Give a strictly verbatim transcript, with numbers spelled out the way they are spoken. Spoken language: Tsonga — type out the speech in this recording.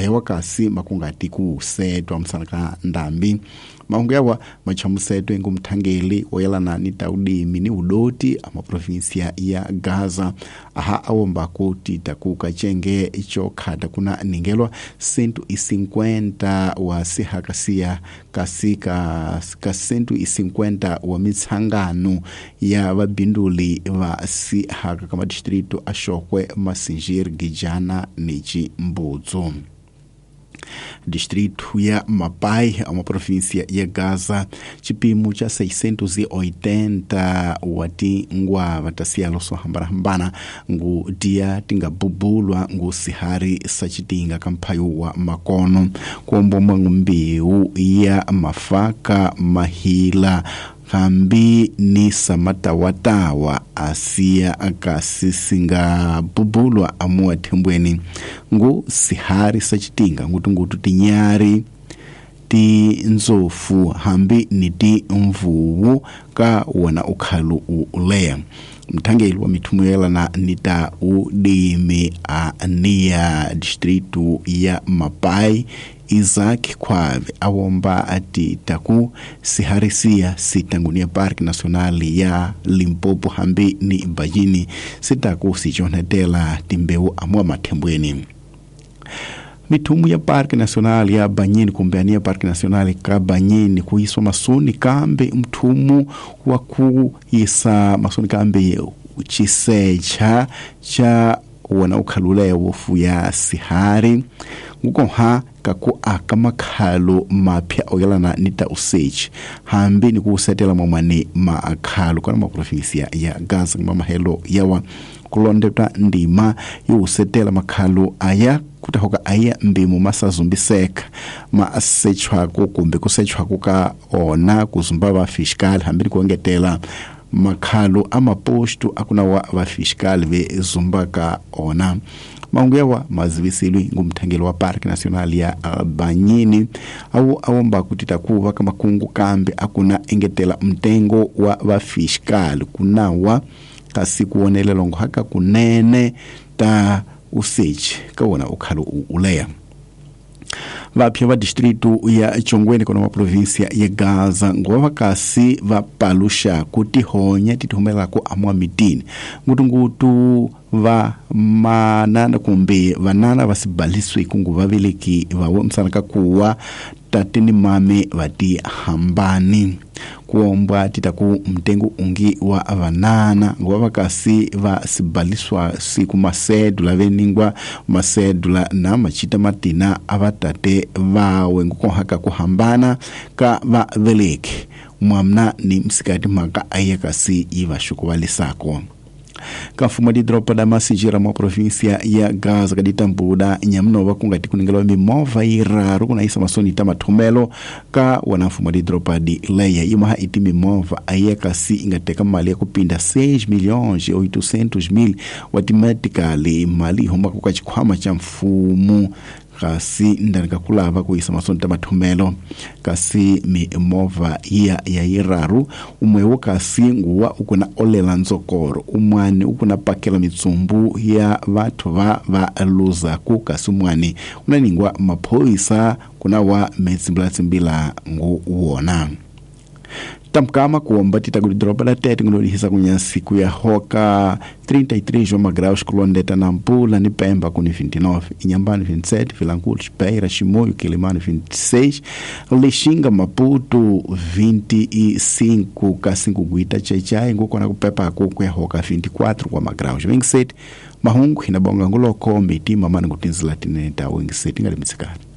ayawa kasi makungati kusetwa msana ka ndambi. Mahungu yawa machamusetwe ngumthangeli oyelana ni taudimi ni udoti ama provinsia ya Gaza aha awomba kuti takuka chenge icho khata kuna ningelwa cento e cinquenta wa sihakasia kasika ka cento e cinquenta wa mitsangano ya vabinduli va sihaka kama distrito a Xokwe, Massingir, Gijana ni Chimbudzu. Distrito ya Mapai, uma província ya Gaza, chipimo cha seiscentos e oitenta wati ngwa vatasialo sohambana-hambana ngu dia tingabubulwa ngu sihari sachitinga kamphayo wa makono kuombomwa ngumbiu ya mafaka mahila hambi ni samatawatawa asia akasisinga bubulwa amuwa thembweni ngu sihari sachitinga ngutungutu tinyari ti nzofu hambi ni ti mvuwu ka wona ukhalu uleya. Mthangeli wa mithumu yelana nita udimi a nia distrito ya Mapai Isaac Kwave awomba ati taku siharisia sitangunia Park National ya Limpopo hambi ni Bajini sitaku sichonetela timbeu amwa mathembweni. Mithumu ya Parque Nacional ya Banyini kumbeania Parque Nacional ka Banyini kuiswa masoni kambe mthumu wa kuisa masoni kambe chisecha cha wona ukhalula wofu ya sihari ngukoha kaku aka makhalo mapya oyelana nita usechi hambi ni kusetela mwamane makhalo kana maprovinsia ya Gaza mamahelo yawa kulondetwa ndima yusetela makhalo aya kutahoka aya mbimu masazumbiseka masechwako kumbe kusechwako ka ona kuzumba va fiscal hambi ni kuengetela makhalo amaposto akuna wa va fiscal ve zumbaka ona. Mahungu yawa mazivisilwi ngumthangeli wa Parque Nacional ya Banyini awu awomba kuti takuva ka makungu kambe akuna engetela mtengo wa va fiscal kunawa kasi kuonelela ngohaka kunene ta usechi ka wona ukhalo uleya. Vapya va distrito ya Chongweni kona província ya Gaza ngova kasi va palusha kutihonya tithumelako amwa mitini ngutungutu va manana kumbe vanana va sibaliswe kungu vaveleki va msana ka kuwa tate ni mame vati hambani kuombwa titaku mtengo ungi wa vanana ngova kasi va sibaliswa siku masedula veningwa masedula na machita matina avatate vawe ngukohaka kuhambana ka va veleki mwamna ni msikati maka ayekasi ivashukuvalisako. Kafuma di dropa da Massingir mwa província ya Gaza kaditambuda nyamnova kungati kuningela mimova iraru kuna isa masoni tamathumelo ka wana mfumo di dropa di leia imaha iti mimova ayekasi ingateka mali ya kupinda seis milhões e oitocentos mil watimatikali mali homa kukachikhwama cha mfumo kasi ndani kakulava kuisa masoni tamathumelo kasi mimova ya ya iraru umwewo kasi nguwa ukuna olela nzokoro umwani ukuna pakela mitsumbu ya vathu va va luzaku kasi umwani unaningwa maphoyisa kuna wa metsimbilatsimbila ngu wona. Tamkama kuomba titaku dropa la tete ngulolihisa kunya siku ya hoka trinta e três graus kulondeta na Nampula ni Pemba kuni vinte e nove, Inhambane vinte e sete, Vilanculos, Beira, Chimoio, Quelimane vinte e seis, Lixinga, Maputo vinte e cinco, Kassingo Guita, Tchai, ngukona kupepa ku ya hoka vinte e quatro graus, vinte e sete, Mahungu hinabonga nguloko mitima mani kutinzila tineta vinte e sete ngalimitsikana.